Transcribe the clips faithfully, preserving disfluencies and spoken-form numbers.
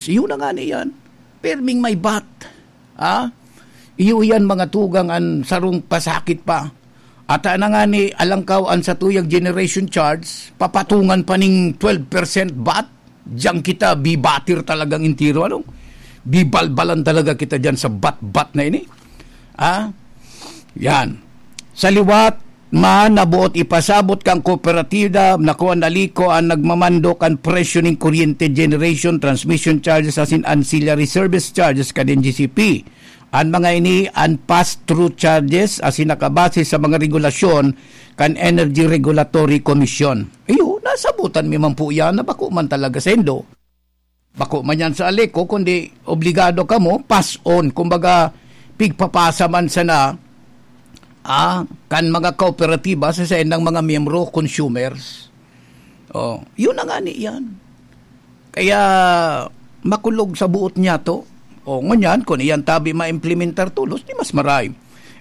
Iyo na nga ni yan. Pirming may bat. Ha? Iyo yan, mga tugang, an sarong pasakit pa. Ata na nga ni alangkaw an satuyang generation charge, papatungan pa ning twelve percent bat. Diyan kita bibatir talagang intiro, ano? Bibalbalan talaga kita diyan sa bat-bat na ini. Ha? Yan. Sa liwat man, nabuot ipasabot kan kooperatiba na kuan na liko an nagmamando kan presyo ning kuryente, generation, transmission charges asin ancillary service charges kan N G C P. An mga ini an pass-through charges asin nakabase sa mga regulasyon kan Energy Regulatory Commission. Iyo, nasabutan mi man po yan na bako man talaga sendo. Bako man yan sa Aleco, kundi obligado kamo, pass on. Kumbaga, pigpapasa man sana, ah, kan mga kooperatiba sa saindang mga miyembro, consumers. Oh, yun na nga ni yan. Kaya, makulog sa buot niya to. O, ngunyan, kung iyan tabi maimplementar tolos, di mas maray.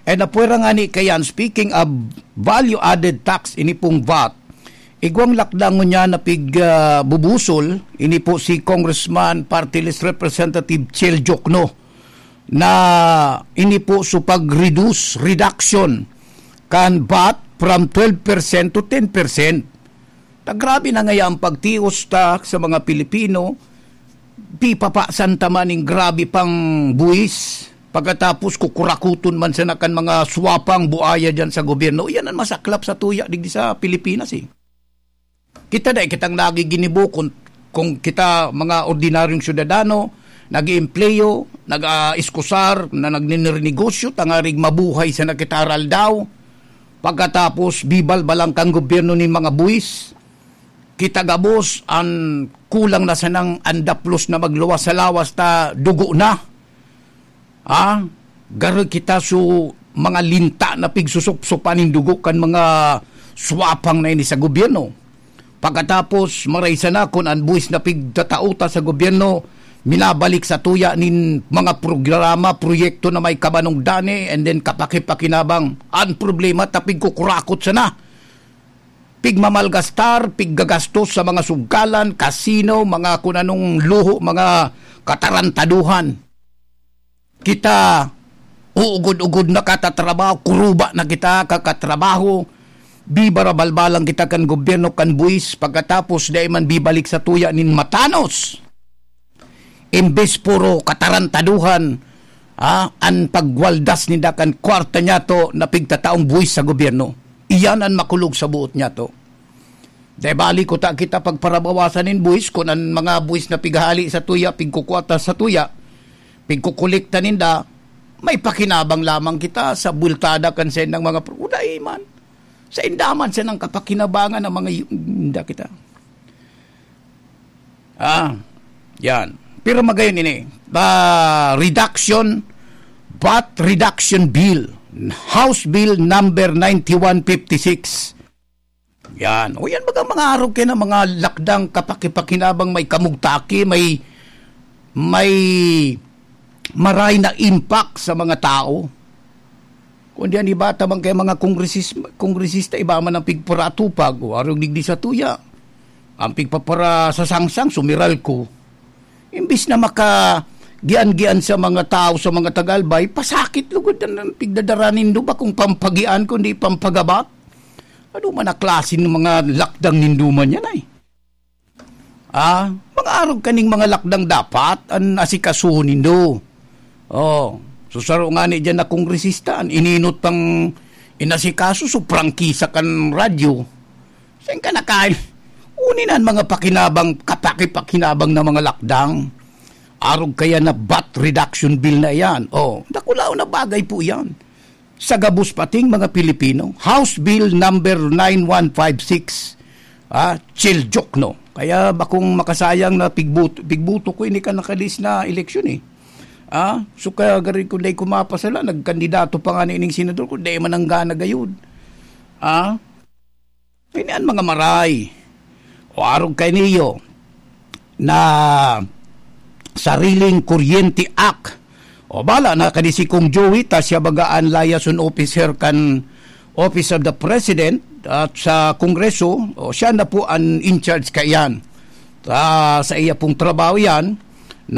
And napwera nga ni kayan, speaking of value-added tax, ini pong vat, igwang lakdang ngunyan na pig, ah, bubusol, ini po si Congressman Party List Representative Chel Jokno, na ini po su pag-reduce, reduction, kan vat from twelve percent to ten percent. Ta grabe na ngaya ang pagtios ta sa mga Pilipino, pipapasan ta man ning grabe pang buwis, pagkatapos kukurakuton man sana kan mga swapang buaya diyan sa gobyerno. Iyan ang masaklap sa tuya digdi sa Pilipinas, eh. Kita dai kitang nagiginibo kung, kung kita mga ordinaryong syudadano, nag-iempleyo, nag-aiskusar, na nagninernegosyo, tangarig mabuhay sana kita aral daw. Pagkatapos, bibalbalan kan gobyerno nin mga buwis. Kita gabos an kulang na sanang andaplos na magluwas sa lawas ta dugo na. Ha? Garo kita su mga linta na pigsusupsupan nin dugo kan mga swapang na ini sa gobyerno. Pagkatapos, maray sana kun an buwis na pigtatao ta sa gobyerno, minabalik sa tuya nin mga programa, proyekto na may kabanong dani, and then kapakipakinabang. Ang problema, ta pigkukurakot sana. Pigmamalgastar, piggagastos sa mga sugkalan, kasino, mga kun anong luho, mga katarantaduhan. Kita, uugod-ugod na katatrabaho, kuruba na kita kakatrabaho, bibarabalbalan kita kan gobyerno, kan buwis, pagkatapos dai man bibalik sa tuya nin matanos. Imbes puro katarantaduhan, ah, an pagwaldas ninda kan kwarta niyato na pigtataong buwis sa gobyerno. Iyan an makulog sa buot niyato. Dai bali kuta kita pagparabawasan nin buwis kun an mga buwis na pighali sa tuya, pigkukuha ta sa tuya, pigkukolekta ninda, may pakinabang lamang kita sa bultada kan saindang mga pro-, dai man. Sainda man sanang kapakinabangan ang mga yu-, inda kita. Ah, yan. Pero magayon ini, ah, reduction, vat reduction bill, House Bill number ninety-one fifty-six. Yan. O yan, baga mga arog kayo na mga lakdang kapakipakinabang may kamugtaki, may, may maray na impact sa mga tao. Kung diyan iba ta man kay mga kongresis-, kongresista, iba man ang pigparatupag, o arog digdi sa tuya. Ang pigpapara sa sangsang, sumiral ko. Imbis na maka-gian-gian sa mga tao, sa mga tagalbay, pasakit lugod ang pigdadara nindo, bakong pampagian, kundi pampagabat. Ano man ang klase ng mga lakdang nindo man yan ay? Ah, mga arog kaning mga lakdang dapat an asikasuhon nindo. Oh, so saro nga ni diyan na kongresista, an ininot pang inasikaso, so prangkisa kan radyo. Saan ka nakain? Uni na an mga pakinabang, kapakipakinabang na mga lakdang. Arog kaya na vat reduction bill na iyan. Oh, dakulaon na bagay po iyan. Sa gabos pating mga Pilipino. House Bill number nine one five six, ah, Chel Jokno. Kaya bakong makasayang na pigbut-, pigbuto ko, ini ka nakalis na eleksyon eh. Ah, so kaya gari ko dai ko mapasala, nagkandidato pa nga ni ining senador ko, dai man ang gana gayud. Ah, ini an mga maray. O arog kay niyo na Sariling Kuryente Act. O bala na kani si Kong Joey, ta siya baga an liaison officer kan Office of the President at sa Kongreso, o siya na po an in charge kaiyan. Sa, sa iya pong trabaho yan,